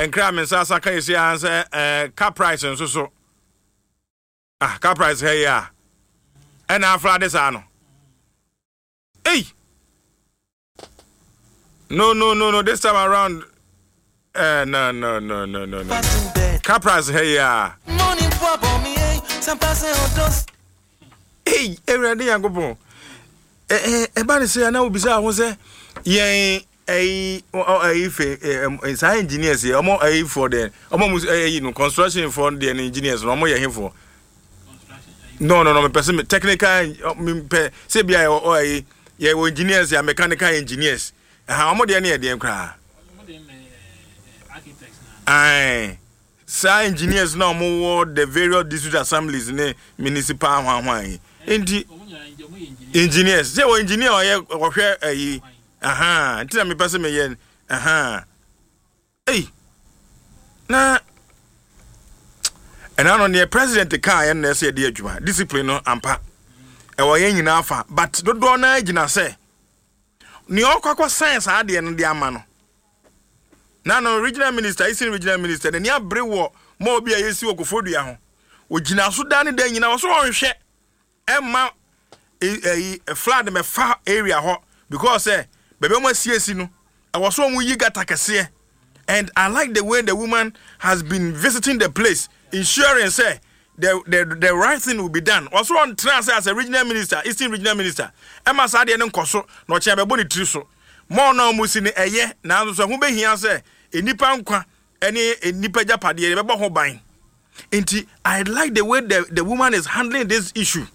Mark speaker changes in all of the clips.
Speaker 1: Nkra me nsa asa ka esi ara sɛ ɛɛ car price nso so. Ah, car price ha yi a. Ɛna afra de saa no. Ei! No, no, no, no, this time around. No, no, no, no, no, no. Car price ha yi a. Ei, Awurade Nyankopɔn. Ɛba ne sɛ na wobisa ho sɛ yɛn ɛyi ɛyi fɛ saa engineers yɛ ɔmo ɛyi foɔ deɛ ɔmo mu ɛyi no construction foɔ deɛ no engineers no ɔmo yɛ hefoɔ. No, mepɛ sɛ me technical, mepɛ sɛ bia yɛ ɛyi yɛ wɔ engineers yɛ mechanical engineers ɛha ɔmo deɛ no yɛ deɛ koraa. Ae, saa engineers na ɔmo wɔ the various district assemblies ne municipal hwanhwan yi nti engineers sɛ wɔ engineer ɔyɛ ɔhwɛ ɛyi aha nti na mepɛ sɛ meyɛ aha. Ei, na ɛna no neɛ president kaa yɛn na ɛsɛ yɛde adwuma discipline no ampa ɛwɔ yɛn nyinaa fa, but dodoɔ naa gyina sɛ nea ɔkɔ akɔ sign saa adeɛ no de ama no na no regional minister, Eastern Regional Minister, n'ani abere wɔ ma obi a yɛsi wɔ Koforidua ho. Ogyina so daa ne da nyinaa wɔ so ɔnhwɛ ɛmma ɛyi flood mɛfa area hɔ because sɛ baabi a wɔn asiesie no ɛwɔ so wɔn yi gutter kɛseɛ. And I like the way the woman has been visiting the place, ensuring sɛ the right thing will be done. Ɔso ɔntena ase as a regional minister, Eastern Regional Minister, ɛma saa adeɛ no nkɔ so na ɔkyɛn bɛbɔ ne tiri so mɔɔ na wɔn si no ɛyɛ, nanso so ɛho bɛhia sɛ nnipa nkwa ɛne nnipa agyapadeɛ yɛbɛbɔ ho ban. Nti I like the way the woman is handling this issue.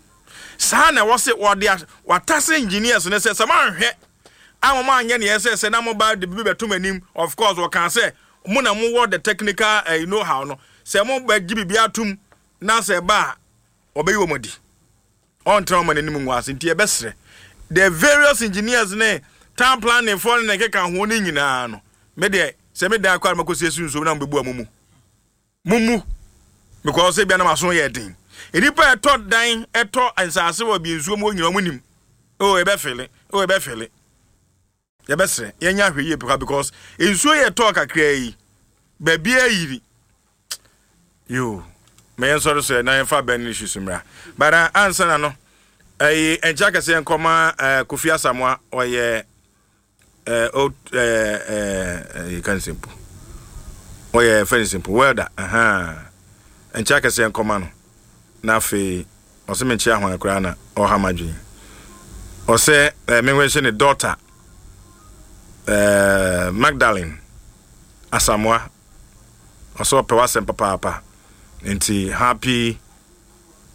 Speaker 1: Saa na ɛwɔ sɛ wɔde watase engineers no sɛ moanhwɛ a wɔn anyɛ neɛ sɛ na mo ba de bibi bɛto mo anim. Of course, wɔka sɛ mo na mowɔ the technical know how no sɛ mo bɛgye biribi atom na sɛ ɛba a wɔbɛyi wɔn adi, ɔntena wɔn anim ngu ase. Nti yɛbɛsrɛ the various engineers ne town planning foɔ ne ne keka ho ne nyinaa no, me deɛ sɛ me dan kɔ a makɔsi esi nsuom na mo bɛbu a mo mu mo mu because ebia na maso yɛ den. Nnipa ɛtɔ dan, ɛtɔ nsaase wɔ bi nsuom hɔ nyinaa, wɔn nim o ɛbɛfele o ɛbɛfele. Yɛbɛsrɛ yɛnyɛ ahwɛ yie paa because nsuo yɛ tɔɔ kakra yi baabi ayiri yo. Ma yɛn sɔre so na yɛmfa bɛn no issues mmra, but ansa na no ɛyi nkyɛn akɛseɛ nkɔma Kofi Asamoa ɔyɛ old yɛka ne sɛmpo ɔyɛ fɛ ne sɛmpo welder nkyɛn akɛseɛ nkɔma no. Na afei ɔsɛ menkyɛ ahwan koraa na ɔha m'adwene. Ɔsɛ menhwɛhyɛ ne daughter Magdalene Asamoah. Ɔsɛ ɔpɛ w'asɛm papaapa nti happy.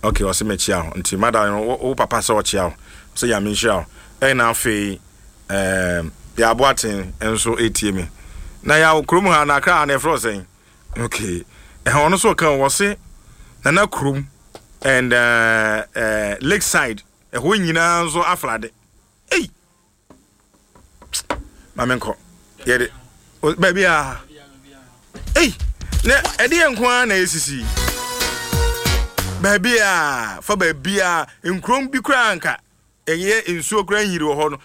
Speaker 1: Okay, ɔsɛ mekyia wo nti Magdalene, wo papa sɛ ɔkyia wo, ɔsɛ Nyame nhyira wo. Ɛna afei yɛaboaten nso ɛtie me na yɛawo kurom ha na Akra ha na ɛfrɛ sɛn. Okay, ɛhɔ ɔno nso ɔka wɔ se Nana kurom and Lakeside ɛhɔ nyinaa nso aflade. Ei, maame nkɔ yɛde baabi a ei na ɛde yɛ nko ara na esisi baabi a fa baabi a nkurom bi koraa nka ɛyɛ nsuo koraa nyiri wɔ hɔ no.